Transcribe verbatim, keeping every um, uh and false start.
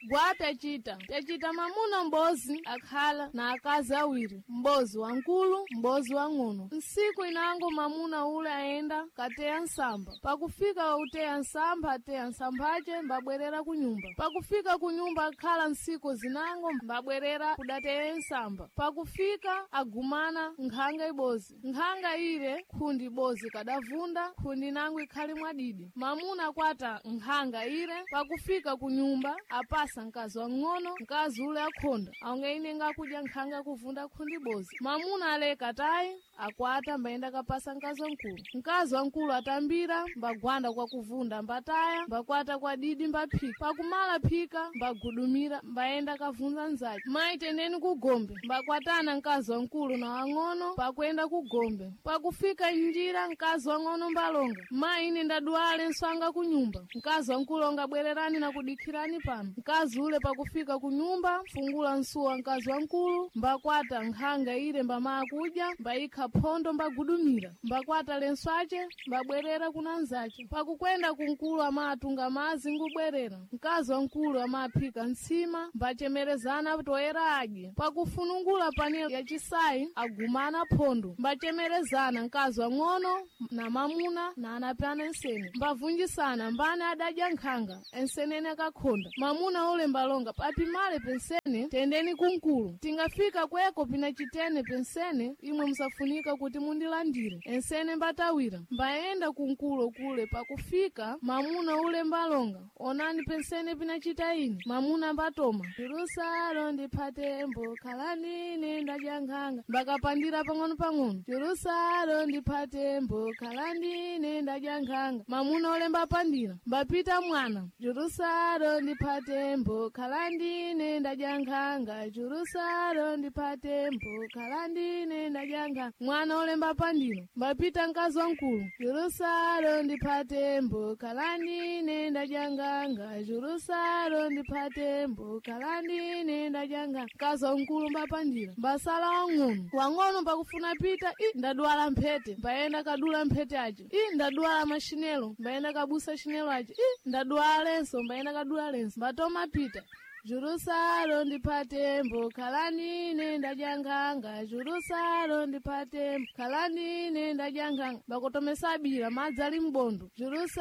Gwa pyacita pyacita mamuna m'bozi akhala na akazi awiri, m'bozi wankulu, m'bozi wang'ono. Nsiku inango mamuna ule aenda kateya nsamba. Pakufika wakuteya nsamba, ateya nsambace mbabwerera kunyumba. Pakufika kunyumba akhala nsiku zinango mbabwerera kudateya nsamba. Pakufika agumana nkhanga ibozi. Nkhanga ile khundi ibozi kadavunda, khundi nango ikhali mwadidi. Mamuna akwata nkhanga ile, pakufika kunyumba apasa mkazi wang'ono, mkazi ule akhonda aonge ine ngakudya nkhanga kuvunda khundi ibozi. Mamuna aleka tayi akwata mbayenda kapasa mkazi wamkulu. Mkazi wamkulu atambira mbagwanda kwa kuvunda mbataya mbakwata kwa didi mbaphika. Pakumala phika mbagudumira mbayenda kavunza nzache. Mayi, tendeni kugombe. Mbakwatana mkazi wamkulu na wang'ono pakwenda kugombe. Pakufika njira mkazi wang'ono mbalonga, mayi, ine ndadwale nswanga kunyumba. Mkazi wamkulu onga, bwererani na kudikhirani pano. Mkazi ule pakufika kunyumba fungula nsuwa mkazi wamkulu mbakwata nkhanga ile mbamaa kudya mbayikha phondo mbagudumira mbakwata lenswace mbabwerera kuna nzace. Pakukwenda kunkulu amatunga mazi ngubwerera. Mkazi wamkulu amaphika ntsima mbachemerezana toyera adye. Pakufunungula pani yacisayi agumana phondo mbachemerezana mkazi wang'ono na mamuna na anapyana ensene mbavunjisana mbani adadya nkhanga ensenene akakhonda. Mamuna ule mbalonga, papimale pensene tendeni kunkulu tingafika kweko pina chitene pensene imwe musafunika kuti mundilandire. Ensene mbatawira mbayenda kunkulo kule. Pakufika mamuna ule mbalonga, onani pensene pinachita ine. Mamuna mbatoma Jerusalem ndiphatembo khalanine ndadya nkhanga mbakapandira pang'ono-pang'ono Jerusalem ndiphatembo khalandine ndadya nkhanga. Mamuna ule mbapandira mbapita mwana Jerusalem ndiphatembo khalandine ndadya nkhanga Jerusalem ndiphatembo khalandine ndadya nkhanga. Mwana ule mbapandira mbapita mkazi wamkulu Jerusalem ndiphatembo khalandine ndadya nkhanga Jerusalem ndiphatembo khalandine ndadya nkhanga. Mkazi wamkulu mbapandira mbasala wang'ono. Wang'ono pakufuna pita, i ndadwala mphete, mbayenda kadula mphete ace. I ndadwala mashinelo, mbayenda kabusa shinelo ace. I ndadwala lenso, mbayenda kadula lenso. Mbatoma pita Jurusalo ndiphatembo khalanine ndadya nkhanga Jurusalo ndiphatembo khalanine ndadya nkhanga. Bakotomesa abira madzi ali mbondo Jurusa.